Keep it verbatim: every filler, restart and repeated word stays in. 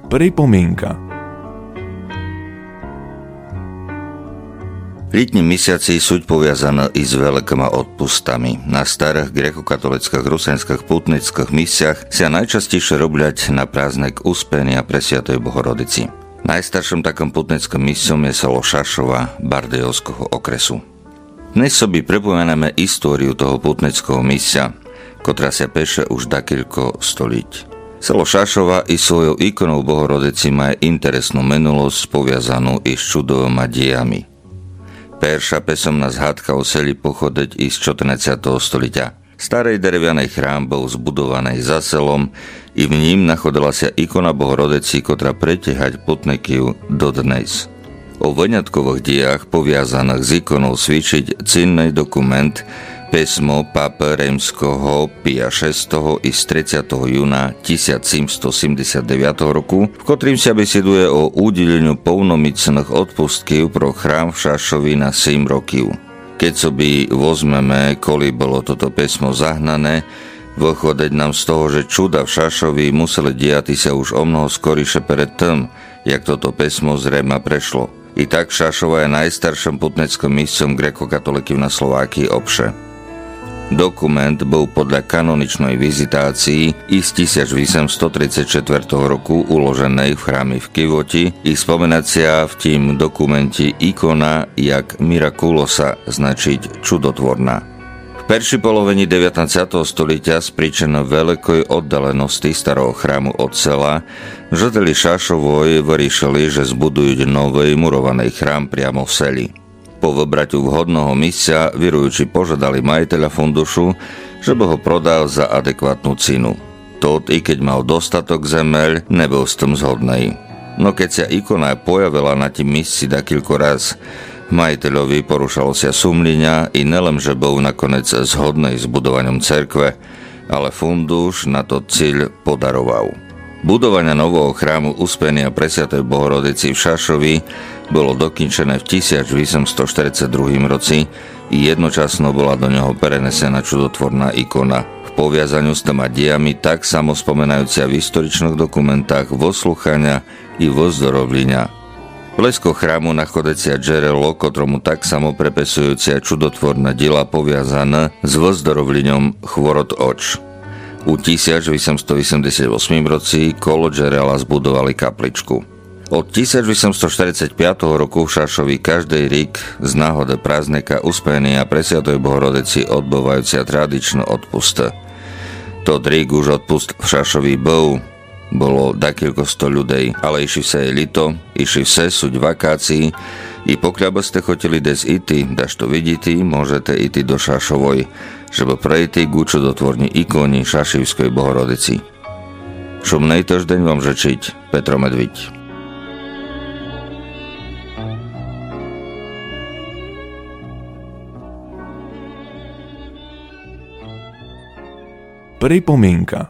Припоминка. Лїтнї місяци суть повязаны и з великыма одпустами. На старых грекокатолицкых русинськых путницкых місцях ся найчастєйше роблять на праздник Успения Пресвятой Богородици. Найстаршым такым путницкым місцом є село Шашова Бардейовського окресу. Днес собі припоминаме историю того путницкого місця, котра ся пише уж дакілько столїть. Село Шашова и свойов іконов Богородици має интересну минулосц, повязану из чудовыма дїями. Перша писомна згадка о селї походить из чотирнадцятого столїтя. Старый деревяный храм быв збудованый за селом и в нїм находила ся ікона Богородици, котра притягать путників доднес. О вынятковых дїях, повязаных з іконов, свідчить цінный документ, писмо папы римського Пія шестого из тридцятого юна тисяч сімсто сімдесят девятого року, в котрім ся бесідує о удїленю повноміцных одпустків про храм в Шашови на сім років. Кед собі возмеме, коли было тото писмо загнане, выходить нам з того, же чуда в Шашови мусели дїяти ся уж о много скоріше перед тым, як тото писмо з Рима прешло. И так Шашова є найстаршым путницкым місцом грекокатоликів на Словакиї обше. Документ быв подля каноничной визитациї из тисяч вісемсто тридцять четвертого року уложеный в храме в Кивоти и спомена ся в тім документи ікона як miraculosa, значить чудотворна. В першій половині девятнадцятого столїтя з причин великой оддалености старого храму од села жителї Шашовой вырішили, же збудують новый мурованый храм прямо в селї. По выбратю вгодного місця віруючі пожадали маїтеля фундушу, же бы го продав за адекватну ціну. Тот, и кед мав достаток земель, не быв з тым згодный. Но кед ся ікона появила на тім місци дакілько раз, маїтельови порушало ся сумлїня и нелем же быв наконец згодный з будованьом церкве, але фундуш на тот цїль подаровав. Будованя нового храму Успения Пресвятой Богородици в Шашови было докінчене в тисяч вісемсто штерицет другім роци и єдночасно была до нього перенесена чудотворна ікона. В повязаню з тыма дїями так само споминаються в историчных документах вослуханя и воздоровлїня. Близько храму находить ся джерело, котрому так само приписуються чудотворне дїла, повязане з воздоровлїньом хворот оч. У тисяч вісемсто вісемдесят восмім роци коло джерела збудовали капличку. Од тисяч вісемсто штерицет пятого року в Шашови каждый рік з нагоды праздника Успения Пресвятой Богородици одбываються традичны одпусты. Тот рік уж одпуст в Шашови быв. Было дакілько сто людей, але ище всьо є лїто, ище всьо суть вакациї, и покля бы сте хотїли десь ити, дашто видїти, можете ити до Шашовой, жебы прийти ку чудотворній іконї Шашівськой Богородици. Шумный тыждень вам жичить Петро Медвідь. Припоминка.